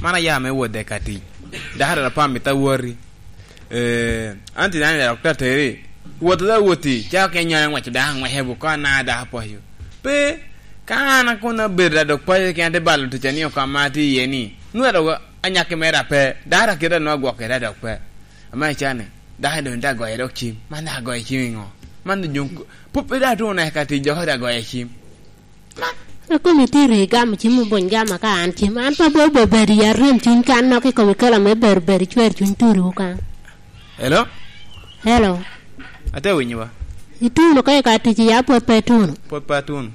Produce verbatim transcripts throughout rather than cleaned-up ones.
Man aya me wot dek atic. Dako dok apamo i ta woti. Eh, an tye dano i dok tateri. Wot dok woti. Cako ke nyoyo ngwec dako ngwece bu kon na dako apoyo. Pe, ka an akon abedo da dok paco kena te balo tic a ni okama tye iye ni. Nwa dok anyakki mere ape. Dako akita nwa gwok kede dok pe. Ama icane. Dako doŋ te agoye dok cim. Man dok agoye cim i ŋo? Man doŋ pop pe dok tuŋo naka tic dok te agoye cim. A kome tye ri gamo cim obony gama ka an cim. An pa bo bo bedo ya rem cwiny kan nok i kome kela me bedo bedo cwer cwiny turi wukan. Hello? Hello. Ate winyo wa. Ituno ka i ka tic ya pwod pe ituno. Pwod pe atuno.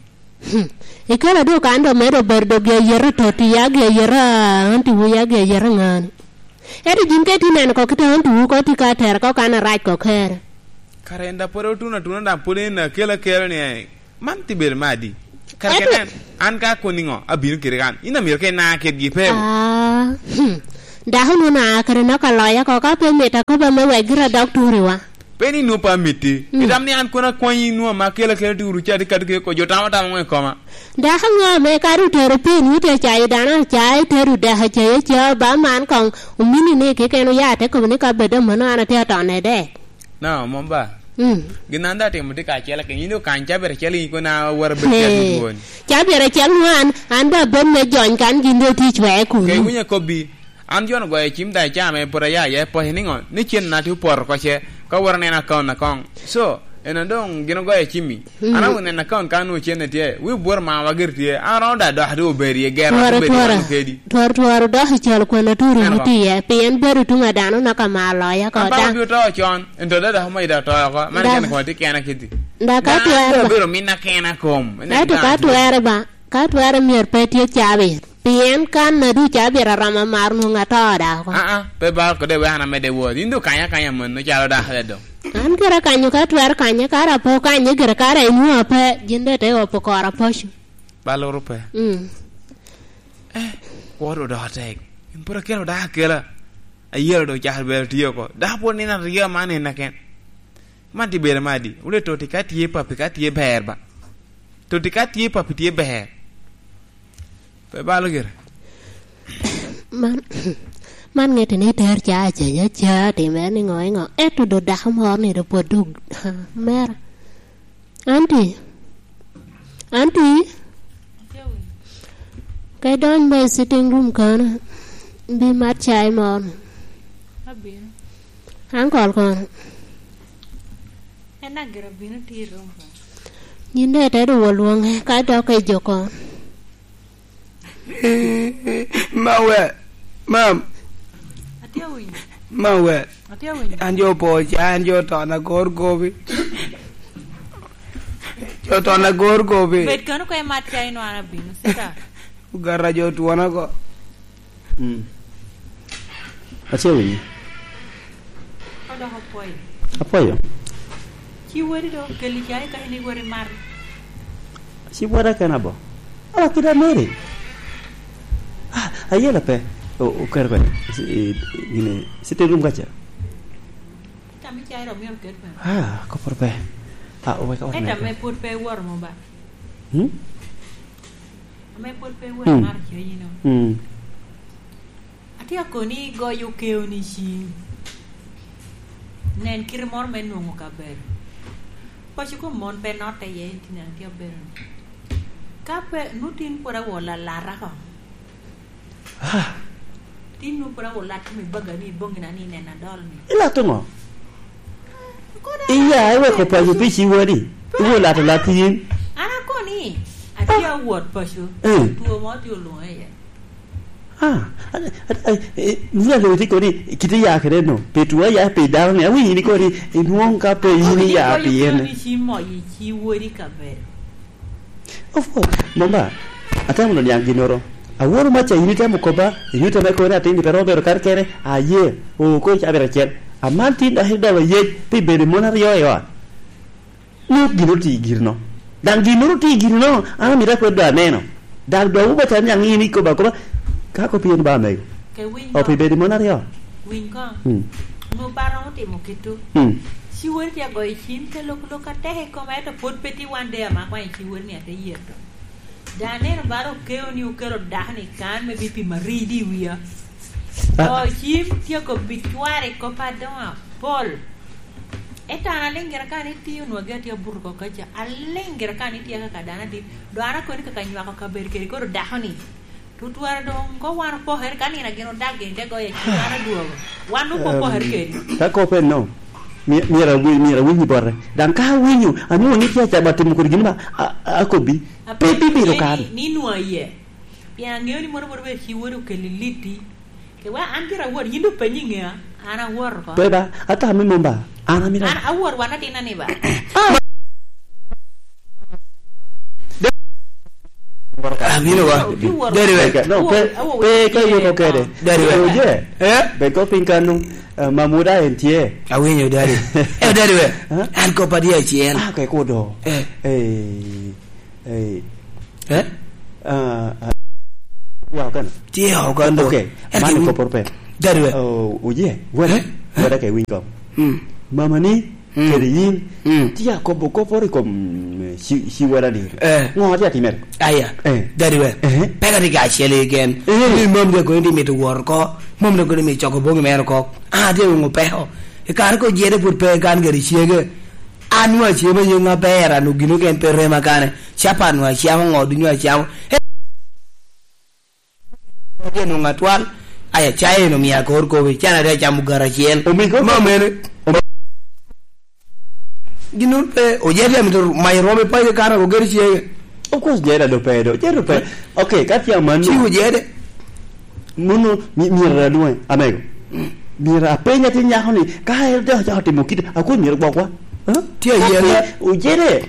Hmm. Ikelo dok an dok medo bedo dok gi ayet i toti ya gi ayet a anti wu ya gi ayet a ŋani. Ento jin ka itye neno ko kita anti wu ko tye ka tero ko kan arac ko kere. Kara en da pwod otuno atuna daŋ pwod en akelo akelo ni, eh, man tye bedo me adi? Kara ken en, an ka akoni ŋo, abino kede kan. In amito ka ina kedgi pe. Ah, hmm. Dako nu na kede nok aloya ko ka pe mita koba me wek gira dok turiwa. Pe ni nwoŋo pe amitti. Mm. Itam ni an kono akwanyi nwoŋo ama kela kela ti uru ca ti kati keko jo tamo tamo ŋo i koma. Dako ŋo ame kadi otero piny wute cayo dano acaya itedo dek acayi aca ba man koŋ omini ni keken oya te kobo ni ka bed amono an atye atone dek. No, mom ba. Mm. Gin an da timo ti kacel akin yin okany cabit acel in kona wara bed cel dwon. Cabit acel ŋwan an ba bed me jony kan gin do ti cwee kunu. Ke winyo kobbi. An jo ogoyo cim da i caa me pwod aya iye poc niŋo ni cen na tye opoto oko ce, ka wot aneno akaun akoŋ. So, eno doŋ gin ogoyo cimmi. Mm. An awinyo neno akaun ka nwoŋo cen tye, wi bworo mawa giri tye, an romo da dok adu obedo iye gero tworo, adu bedo tworo. Wano kedi. Tworo, tworo dok i calo kwena turu wuti iye, pien bedo tuŋ a dano naka ma aloya ko daŋ. An obito to con, ento da dok omayi da to oko, man ken kono tye kena kiti. Da ka twero ba. Bedo minna kena kom. Ento ka twero ba, ka twero myero pe tye cabit. Pien kan adu cabit aromo amar nwoŋo ato da oko. Aa, pe bal kode wek an amedde wot. In doŋ kanya akanya mano calo dako ado. An kara kanyo ka twero kanye, kara apo kanye gire, kara inwoŋo ape, gin doŋ te opo kora poco. Bal uru pe. Mm. Eh, kwo doŋ odoko tek. In pwod akelo dako akela. Ayelo doŋ cakere bero tye oko. Dako pwod nino aryo man en aken. Man tye bedo ma adi? Wule toti ka tye papi ka tye ber ba. Toti ka tye papi tye ber. Pe balo gire. Man, man ŋete ni ter ca acenya ca timere ni ŋo i ŋo. Ento do dako moro ni do pwod dog, ha, mera. Anti, anti, ka idony ba i sitting room kono, bi mat cai moro. Abino. Ankol kono. En agera bino tye i room kono. Yin dong itedo wol lwoŋe, ka dok i jo kono. Ma we, mam. Atye awinyo. Ma we. Atye awinyo. An jo po ca, an jo ton agor gobi. Jo ton agor gobi. Bed kano ka imat ca ino an abino, sika. Ogara jo twona ko. Mm. Atye awinyo. Odoko apwoyo. Apwoyo. Ci wadi do, keli cai ka in iwori mar. Ci wada kena bo. Ala kida Mary. Ah, ayela pe. O, o kere pe. Si, e, gini, sitting room kacha. Tam i cai rom yom ket pe. Ah, kopor pe. Ah, oweka ot. Eta me put pe wor mo ba. Hmm? Ame pwod pe wot amaro cayino. Mm. Atye akoni igoyo okeo ni cim. Nen kite moro me nwoŋo kabedo. Paco kom mon pe notte iye, in tye neno tye abedo ni. Ka pe, nu tin pwod awo lalata ko. Ah. Tin nu pwod awo lat kom i baga ni, i boŋina ni, nen adol ni. Ilato ŋo? Iya, iweko paco pi ci wadi. Iwo lato lat yin. An akoni, atye awot paco. Eh. Two mo tye olwoŋe iye. Ah, a, a, a, eh, ni aloyo tye koni, kite ya kede no. Pe two ya pe dano ni, awinyo ni koni, inwoŋo ka pe yin iya pi en. Ni ci moyo i ci wodi kabedo. Of course, mama, atamo no niaŋ ginnoro. Aworo maca in itemo kobba, in itemo kono ni atin ni pe romo bedo kare kene, aye, oo, kono ica bedo acel. Aman tin dok idolo yec pi bedo mon aryo i ot. Ni ok gin oti i giri no. Daŋ ginnoro oti i giri no, an amito akwed do aneno. Daŋ dok wuba can niaŋ in ikobo akoba, ka kop yen ba amego. Ke winy ko. Opi bedo mon aryo. Winy ko. Hmm. Onwo ba romo timo kit-tu. Hmm. Ci wodi tye agoyo cim, te lok lok atek i koma, ento pwod pe tye one day ama akwanyo ci wodi ni ate yeto. Dano aneno bala okeo ni okelo dako-ni kan me bi pimo aridi i wia. Ah. O, cim tye kobbi cware kop adoŋo apol. Ento an aliŋ gira ka ni tye onwagi atye abuto oko kaca. Aliŋ gira ka ni tye kaka dano adit. Dong an akoni kaka nywako kabedo kede koro dako-ni. Tutwara doŋ ko wan opokere ka nino gin odak gin te goyo acel wan odwogo. Wan doŋ pe opokere kedi. Ka kop enno, my-, myero awi-, myero awiny bote. Daŋ ka awinyo, anwoŋo ni tye acato atimo kodi gin ba, a-, a-, akobbi. Pe bibedo kan. Ni, ni nwa iye. Pien aŋeo ni mono mono bedo ci wode okeli liti. Ke wa an gira awot, yin doŋ penyi ŋea, an awot oko. Pe ba, ata me mom ba, an amito. An awot wan atina ni ba. Abino wa. Oju wot. Dadi we. No, pe, pe, pe iwot oko kede. Dadi we. Oje. Eh? Be ko piny kanu, eh, mamuda en tye. Awinyo, dadi. Eh, dadi we. Huh? An kop adi acel. Ah, ke kudo. Eh. Eh. Ei. Eh? Ah, ah, ya, okana. Tye okana. Ok, ento man iwiny koporo pe. Dadi we. Oh, oye, wada, eh? Wada ke winy kong. Mm. Mama ni, mm, kede yin, mm, tye akobo koporo i kom, mm, ci, ci wada ni. Eh. Ŋo tye atimere? Aya. Eh. Dadi we. Eh. Peka tye kacel i gen. Eh. Ni mom de koni tye mito woro ko. Mom de koni mito coko boŋi mere ko. Ah, tye wungo peko. I kare ko jede put pe kan gari cege. An nwa acemo yeŋ aber, an ogino gen pe rema kane. Capa nwa acamo, ŋo ducu nwa acamo. Eh, nwoŋo atwal. Aya, caye en omio akor kobi. Can ate acamo gara acel. Omigo. Ma mene. Omi- Gin pe, ojede amito mayo rwom i paco kan ago gero cege. Of course, jeda do pe do. Jeda do pe. Eh? Ok, ka tye amanno. Ci ojede. Muno, mi-, myero adwoŋe, amego. Mm. Myero apeny atin nyako ni, ka en te ocako timo kite, akwai myero gwokwa. Huh? Tye ayela. Ojede,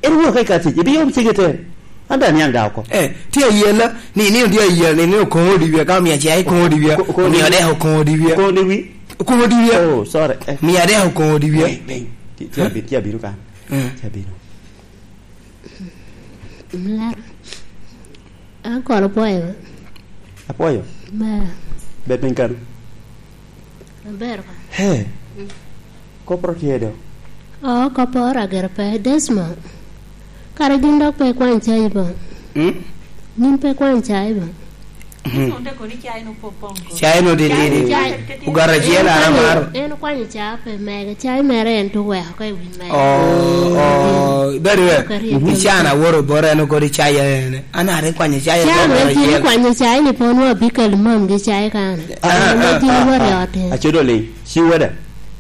en wok ka i kar tic, ibiyom cege te. An daŋ aniaŋ daŋ oko. Eh, tye ayela, ni, ni tye ayela, ni, ni okoŋo odi wie, ka omio acayi koŋo odi wie, ko-, ko-, omio adek okoŋo odi wie. Koŋo odi wi? Okoŋo odi wie. Oh, sorry. Eh. Omio adek okoŋo odi wie. Beng, beng. Ti-, ti-, huh? Abi-, ti abino kan. Mm. Ti abino. Mlara. An kono apwoyo. Apwoyo? Ber. Bed piny kano. Aber ba. He. Mm. Koporo tye do. Oo, koporo agero pe. Desmond. Kara gin dok pe ikwany cai ba? Mm? Gin pe ikwany cai ba? Mhm. Cai no titidi. Cai, cai. Ogara acel an amaro. En okwanyo cai pe mege. Cai mere en to weko ka i wi mege. Oh, oh, very well. Kari. Mhm. Ican aworo bora en okodi cai ene. An are kwanyo cai. Cai mere gin kwanyo cai ni pon wa bikal mam gi cai kan. Ah, ah, ah, ah. Gin wari ote. Acodo ling. Ci wada.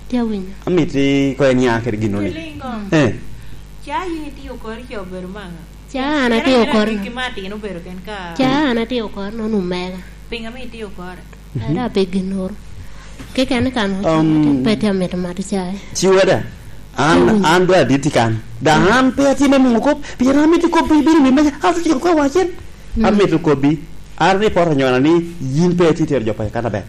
Tye awinyo. Amiti ko en ya kede gino ni. Ilingo. Eh. Ca yin itio kori ca obedo manga. Ca an atio kori. Ki ma atin obedo ken ka. Ca an atio kori nono omega. Pinga mi itio kore. Mhm. Ada pe ginoro. Keken kan um, pe tye amito mato cai. Ci wada. An, mm, an dwa aditi kan. Da an pe atye me muŋo kop. Pien amito kop bino wi meja. Ato ciko kwa wacen. Mm. Amito kobbi. An ni poto nyona ni yin pe itye tero jo pa kan aber.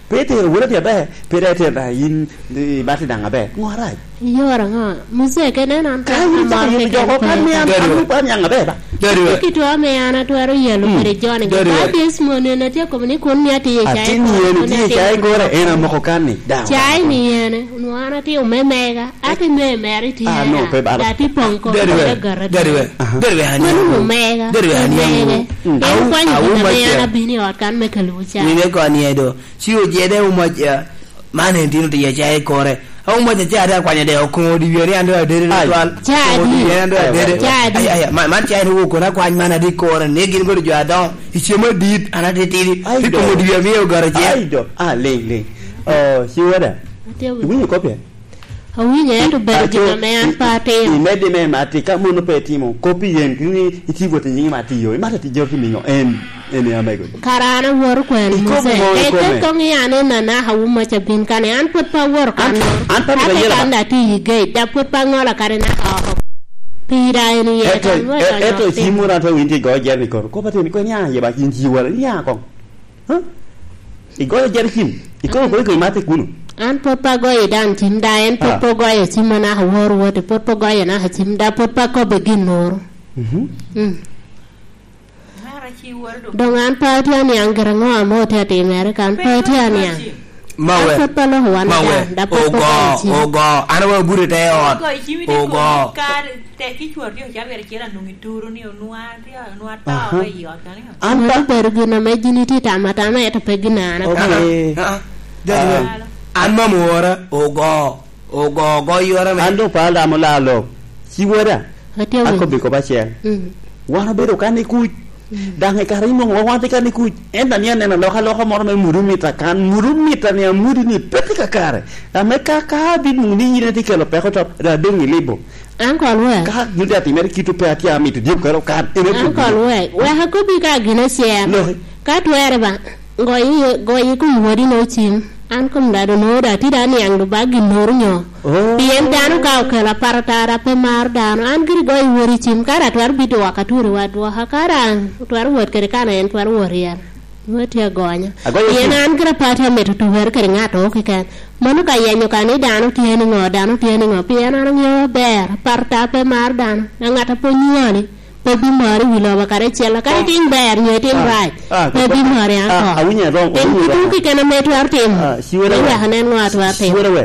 Pe itero wele ni aber, pe dai itero da yin, i bati daŋ aber. Ŋo arac? Iyoro ŋo? Muzee kene en an ka yin cako yin joko kan mi an, an lupo an yaŋ aber ba. Very well. Ki to ame an atwero yelo, mm, kede joni. Very well. Ka Desmond en atye kobo ni kun mi atiye cai. Atin kore, yen kun atiye cai kore, en amoko kan ni. Daŋ. Cai ni ene, onwo an atye omemega. Ate me mere tye. Ah, no, pe bala. Ati pong ko. Very well. Very well. Aha. Very well, honey. Mano omega. Very well, honey. Omega. Mm. En kwanyo gin ame an abino i ot kan me kalubo ca. Wine koni edo. Ci ojede umac, eh, man en tino tiya ca i kore. Umac ca ate akwanya de okoŋo di wiye ni an do adede. Ai. Twal. Ca adi. Okoŋo di wiye ni an do adede. Ca adi. Ai, ai, ai, man, man ca en owo kono akwany man adi kore. Ni gin kodo jo adoŋo. I cem adit, an atitidi. Ai, do. Ikoŋo di wiye miyo ogaro cen. Ai, do. Ah, ling, ling. Oh, ci wada. Ate winyo. Iwinyo kopya? Awinyo, ento ber gin ame an pe atimo. Imedde me matti, ka mono pe itimo, kop i yen, ni iti wot i nyiŋi me atiyo, imato tic joro timo iŋo? En, en ame godi. Kara an awoto kwano Mose. Ikobo ŋo i kome? Eke koŋ i an en anaka wu maca bin kane, an pwod pe awoto kan moro. An, an pe amito ayela ba. Ate kan da ati i gate, da pwod pe aŋolo kare naka oko. Pira en iye, ento, kan wot e-, ento cim moro an pe winyo tye goyo jami koro. Kop atin, kwen ya ye ba, in ci wala, ya koŋ. Huh? Igoyo jere cim? Ikobo kodi kodi mate kuno? An pwod pe agoyo i dan cim, da en pwod pe ogoyo cim anaka wor wote, pwod pe ogoyo anaka cim, da pwod pe akobbe gin moro. Mhm. Mm. Doŋ an pe atye aniaŋ gira ŋo ame otye atimere kan, pe atye aniaŋ. Mawe. An pwod pe aloko wan Mawe. Ada, da pwod pe Ogo, ogo i cim. Ogo. An awe obuto i te ot. Ogo i cim ite Ogo. Kare tek i cwor tye ocabere acel anwoŋo ituro ni onwoŋo aryo, onwoŋo atoo Aha. I ot kani. An Mano pa- obedo gin ame gin itye tamo atama, ento pe gin an atamo. Okay. Ah, ah, ah. Jadi Ah. An mom ora, ogo, ogo, ogo yora me. An doŋ pala damo lalo. Ci wada. Atye awinyo. Akobbi kop acel. Mm. Wan obedo kan i kuc. Daŋ i kare inwoŋo wa wan tye kan i kuc, ento ni aneno alokaloka moro me mudu mita kan, mudu mita ni amudi ni pe tye kakare. Ame ka, ka abin muŋ ni yin itye kelo peko top, da doŋ ilibo. Uncle Wek. Ka gin te atimere kit pe atye amito dyeb kare okan, ene Uncle Wek, wek akobbi ka gin acel. Loki. Ka twere ba, goyi, goyi kom wodi no cim. An kom dado no da tida niaŋ do ba gin noro nyo. Oh. Pien dano ka okelo aparatara pe maro dano, an giri goyo wori cim, kara atwero bito waka turi wa dwoka, kara an twero wot kede kana en twero wot ryel. Nwa tye agonya. Agoyo Pien cim. An gira pati amito tuwere kede ŋato keken. Mano ka yenyo ka ni dano tye ni ŋo, dano tye ni ŋo, pien an aŋeo aber, aparatara pe maro dano, a ŋat a pwod nywali. Pe bimari wi lobo kare acel, kadi itim ber nyo itim Ah, rac, ah, pe ah, bimari ah, ako. Awinyo wrong, Tim awinyo wrong. Tutu keken ame itwero timo, Ah, siwere me we. Wek anen ŋo atwero timo. Siwere we.